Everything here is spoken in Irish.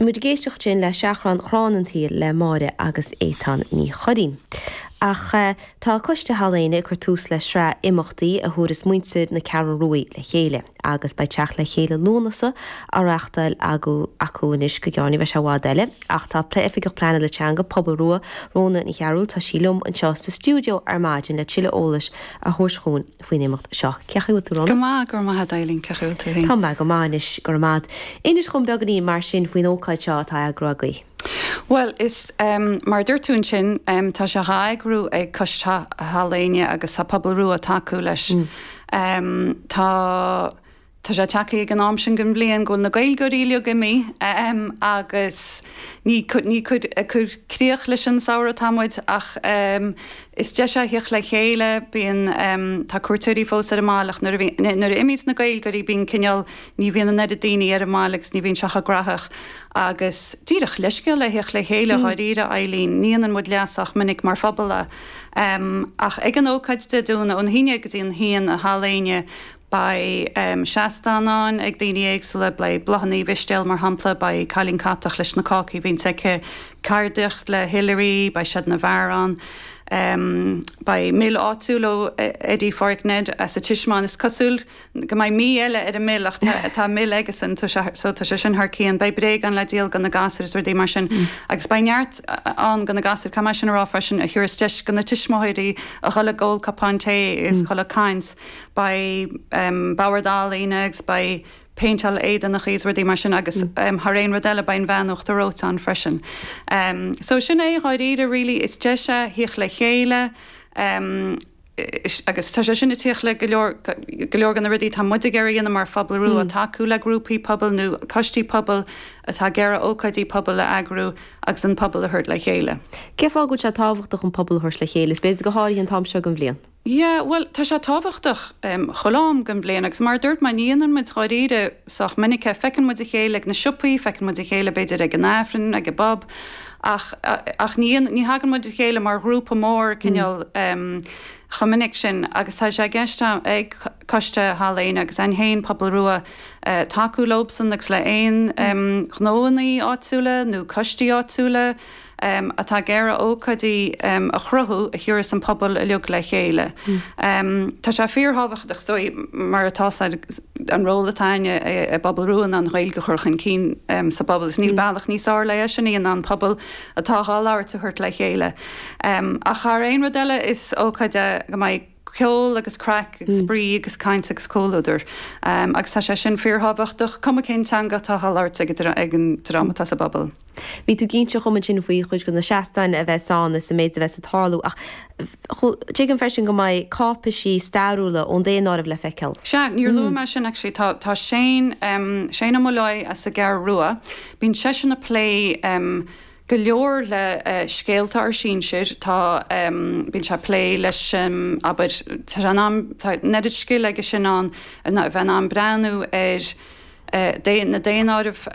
Bhí muid ag éisteacht ansin le Seachrán Chrann an tSaoil le Máire agus Étáin Ní Churraoin. Ach tá Coiste Halla Éinne ag cur tús le sraith imeachtaí a thabharfas muintir na Ceathrún Rua le chéile agus beidh Teacht le Chéile Lúnasa á reachtáil acu anois go gearr, ní bheidh sé i bhfad eile. Ach tá Oifigeach Pleanála Teanga Pobal Rua, Rhona Ní Chearúil, tá sí liom anseo sa stiúideo ar maidin le tuilleadh eolais a thabhairt chugainn faoin imeacht seo. Cén chaoi a bhfuil tú, Rhona? Go maith, go raibh maith agat, Eileen, cén chaoi a bhfuil tú féin? Tá mé go maith anois, go raibh maith agat. Inis dhom beagáinín mar sin faoin ócáid seo atá á eagrú agaibh. Bhuel, is mar a dúirt tú ansin, tá sé dhá eagrú ag Coiste Halla Éinne agus tá Pobal Rua ag tacú leis. Tá. Tá sé tagtha ag an am sin den bhliain go bhfuil na Gaeilgeoirí uilig imithe agus ní ní ag cur críoch leis an samhradh atá muid ach is deis é a thíocht le chéile, bíonn tá cuairteoirí fós ar an mbaile ach nuair a bhí nuair a imíonns na Gaeilgeoirí bíonn cineál ní bhíonn an oiread daoine ar an mbaile agus ní bhíonn sé chomh graitheach agus díreach leithscéal le thíocht le chéile dháiríre Eileen, ní dhéanann muid leas ach minic mar phobal é. Ach ag an ócáid Dé Domhnaigh ón 11 go dtí an 1 i Halla Éinne Beidh seastáin ann ag daoine éagsúla, beidh Bláthanna Uí Mhistéil mar shampla, beidh Cailín Catach leis na cácaí a bhíonns aici, ceardaíocht le Hilary, beidh Seid na bhFear ann, beidh mil áitiúil ó Eddie Pháraic Ned as an Tismeáin, is cosúil go mbeidh mí eile ar an mil ach tá mil aigesan so tá sé sin thar cionn, beidh bréagáin le díol do na gasúir is rudaí mar sin agus beidh neart ann do na gasúir, caithfidh mé sin a rá freisin, a thabharfas deis do na tuismitheoirí a dhul ag ól cupán tae is dhul ag caint. Beidh bord ealaíne agus beidh péinteáil éadanachaí is rudaí mar sin agus thar aon rud eile beidh an bhean uachtar reoite ann freisin. So sin é dháiríre really, is deis é thíocht le chéile agus tá sé sin ag tíocht le go leor go leor de na rudaí atá muid ag iarraidh a dhéanamh mar Phobal Rua, tacú le grúpaí pobail nó coistí pobail atá ag iarraidh ócáidí pobail a eagrú agus an pobal a thabhairt le chéile. Cén fáth go bhfuil sé tábhachtach an pobal a thabhairt le chéile, is b'fhéidir go háirithe an t-am seo den bhliain? Yeah, bhuel, tá sé tábhachtach chuile am den bhliain agus mar a dúirt mé, ní dhéanann muid dháiríre sách minic é. Feiceann muid a chéile ag na siopaí, feiceann muid a chéile b'fhéidir ag an Aifreann, ag an bpub ach ach ní ní thagann muid a chéile mar ghrúpa mór cineál chomh minic sin agus tá sé i gceist ag Coiste Halla Éinne agus againn féin, Pobal Rua, tacú leobsan agus le aon ghnóannaí áitiúla nó coistí áitiúla. atá ag iarraidh ócáidí a chruthú a thiúrfas an pobal uilig le chéile. Tá sé fíorthábhachtach, is dóigh, mar atá an ról atá againne i bPobal Rua ná an Ghaeilge a chur chun cinn sa bpobal agus níl bealach níos fearr le é sin a dhéanamh ná an pobal atá dhá labhairt a thabhairt le chéile. Ach thar aon rud eile is ócáid é go mbeidh ceol agus craic agus spraoi agus caint agus comhluadar agus tá sé sin fíorthábhachtach, cuma cén teanga atá á labhairt ag an dream atá sa bpobal. Bhí tú ag inse dhom ansin faoi chuid de na seastáin a bheas ann is an méid a bheas ag tarlú ach tuigim freisin go mbeidh cáipeisí stairiúla ón daonáireamh le feiceáil. Sea, níor luaigh mé sin actually. Tá tá Shane, Shane Ó Muilleoir as an gCeathrú Rua, bíonn seisean ag plé go leor le scéalta ár sinsir, tá, bíonn sé ag plé leis, abair, tá sé in ann, tá an oiread scil aige sin ann, a bheith in ann breathnú ar na daonáirimh.